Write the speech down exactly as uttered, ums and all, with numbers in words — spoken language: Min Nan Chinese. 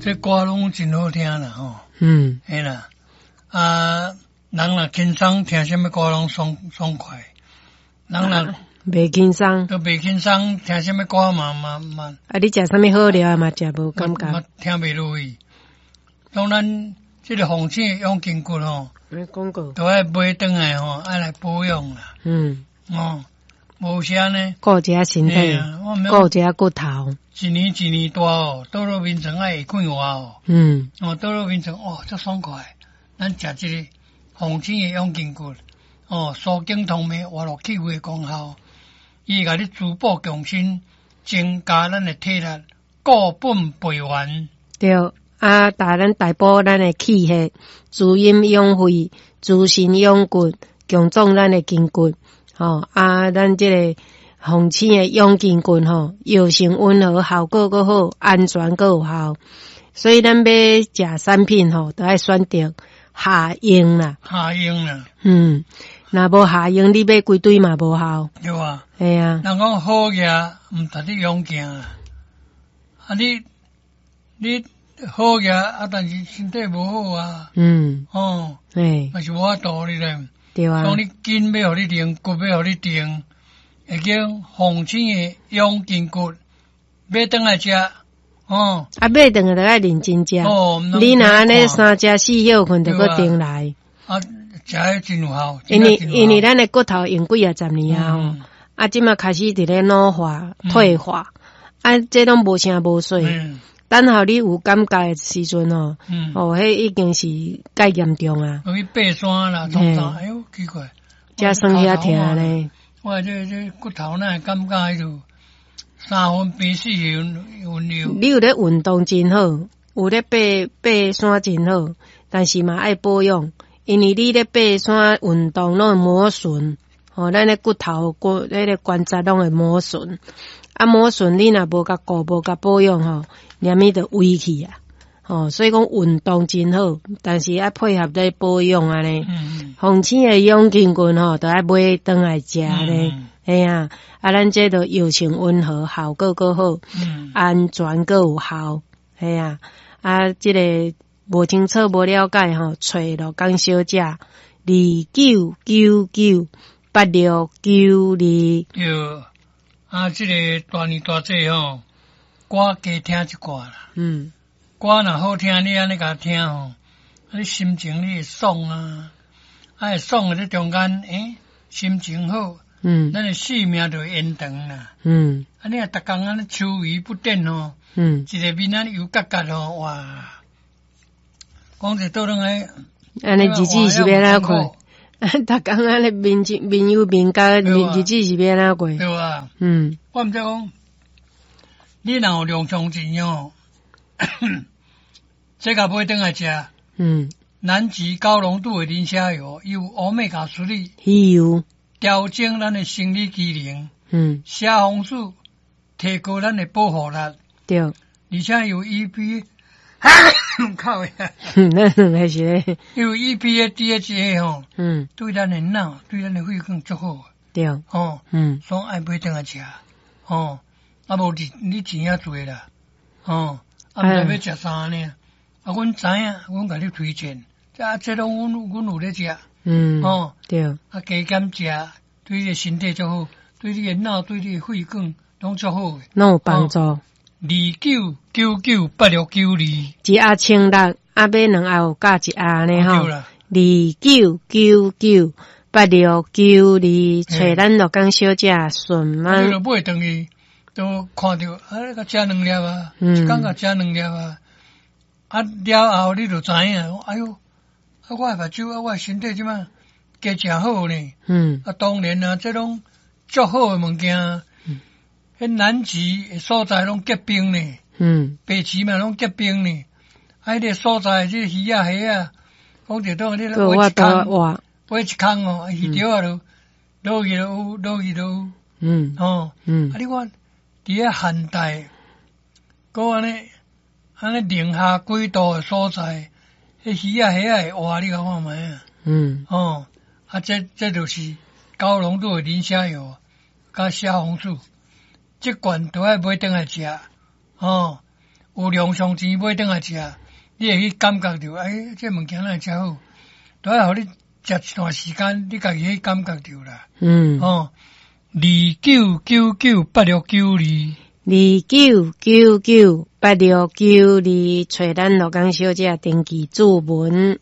這歌攏真好聽啦吼。嗯。嘿啦，啊，人若輕鬆聽啥物歌攏爽爽快，人若袂輕鬆，都袂輕鬆，聽啥物歌嘛嘛嘛。啊，你食啥物好料嘛，食無感覺。嘛聽袂落去。當咱這個鳳青養筋骨吼，廣告都愛買轉來吼，愛來保養啦。嗯。哦，無啥呢。顧一下身體，顧一下骨頭。一年一年大哦，倒落眠床愛會快活哦。嗯。哦，倒落眠床哦，足爽快。咱食這個鳳青的養筋骨，哦，舒筋通脈、活絡氣血的功效，伊會共你滋補強身，增加咱的體力，固本培元。對。啊，帶咱大補咱的氣血，滋陰養肺，滋身養骨，強壯咱的筋骨。吼啊，咱這個鳳青的養筋骨吼，藥性溫和，效果閣好，安全閣有效。所以咱欲食產品吼，都愛選擇下用啦。下用啦。嗯，若無下用，你買規堆嘛無效。對啊。嘿啊。人講好額毋值得勇健啊！啊你你。好額啊，但是身體無好啊。嗯。哦。嘿。嘛是無法度哩咧。對啊。講你筋欲予你定，骨欲予你定，會叫鳳青的養筋骨，買轉來食。哦。啊，買轉來就愛認真食。哦。你若按呢三食四歇睏，就閣轉來。啊，食彼真有效。因為因為咱的骨頭用幾仔十年啊吼，啊，這馬開始佇咧老化、退化，啊，這攏無聲無息。等候你有感覺的時陣吼，哦，彼已經是蓋嚴重啊。去爬山啦，創啥？哎喲，奇怪，遮酸遐疼咧。我這這骨頭哪會感覺彼就三分病四分分憂。你有咧運動真好，有咧爬爬山真好，但是嘛愛保養，因為你咧爬山運動攏會磨損，吼，咱的骨頭骨彼個關節攏會磨損。啊，磨損你若無共顧，無共保養吼，連物就歪去啊！吼，所以講運動真好，但是愛配合咧保養按呢。鳳青的養筋骨吼，都愛買轉來食咧。嘿啊，啊，咱這都藥性溫和，效果閣好，安全閣有效。嘿啊，啊，這個無清楚、無了解吼，揣鹿港小姐二九九九八六九二。對。啊，這個大年大節吼，歌加聽一寡啦。嗯。歌若好聽，你按呢共聽吼，啊，你心情你會爽啊，啊會爽的這中間，欸，心情好，嗯，咱的生命就會延長啦。嗯。啊，你若逐工按呢秋眉不展吼，嗯，一個面按呢油結結吼，哇！講者倒轉來，按呢日子是欲按怎過？逐工按呢面面憂面焦，日子是欲按怎過？對啊。嗯。我毋知講，你若有良常錢哦，這共買轉來食。嗯。南極高濃度的磷蝦油，有歐米伽三魚油，調整咱的生理機能。嗯。蝦紅素提高咱的保護力。對。而且有 E P，靠呀！咱兩个是咧，有 E P A、D H A 吼，嗯，對咱的腦、對咱的血管足好。對。吼，嗯，所以愛買轉來食，吼，啊無你你錢也濟啦，吼，啊毋知欲食啥呢？啊，阮知影，阮共你推薦，這啊這攏阮阮有咧食，嗯，吼，對，啊加減食，對你的身體足好，對你的腦、對你的血管攏足好的，攏有幫助。二九九九八六九二，一盒千六，啊買兩盒有加一盒呢吼。對啦。二九九九八六九二，揣咱鹿港小姐順啊，你嗎？就買轉去，都看著啊，共食兩粒啊，嗯一工共食兩粒啊，啊了後你就知影，哎喲，啊我的目睭啊，我的身體這馬加誠好呢。嗯啊，當然啊，這攏足好的物件，彼南極的所在攏結冰呢，嗯北極嘛攏結冰呢。啊，彼個所在這個魚仔蝦仔，講一當你閣有法挖一空，度活，挖一空哦，魚釣啊就落去就有，落去就有，嗯吼。嗯啊，你看佇遐寒帶，閣按呢按呢零下幾度的所在，彼魚仔蝦仔會活，你共看覓啊？嗯哦，啊，這這就是高濃度的磷蝦油佮蝦紅素，這罐都愛買轉來食，哦，有量上錢買轉來食，你會去感覺著，欸，這物件哪會遮好？都愛予你食一段時間，你家己去感覺著啦。嗯，哦，二九九九八六九二，二九九九八六九二，揣咱羅江小姐登記註文。